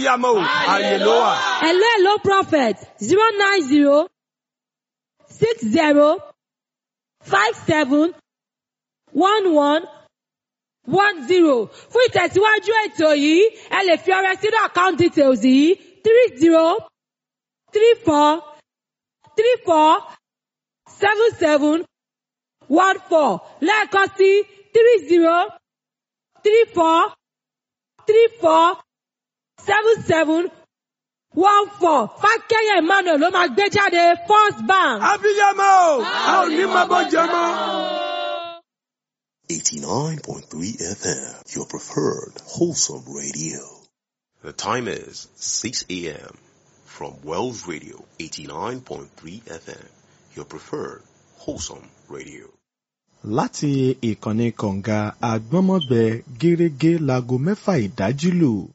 Abiyamọ o, àyè ló wà. Hello, hello, Prophet. 090 60 57 11 10. Fún ìtẹ̀síwájú ètò yìí, ẹ lè fi ọrẹ sínú account details yìí: 30 34 34 77 14. Lẹ́ẹ̀kan sí, 30 34 34 77 14. Fákẹ́yẹ̀ Emmanuel ló máa gbé jáde, First Bank. Abiyamọ o, a ò ní máa bọ́ jẹ mọ́. 89.3 FM, your preferred wholesome radio. The time is 6 a.m. from Wells Radio 89.3 FM, your preferred wholesome radio. Láti ìkànnì kọ̀ǹga àgbọ́nmọ́gbẹ, gẹ́rẹ́gẹ́ láago 6 ìdájí lù.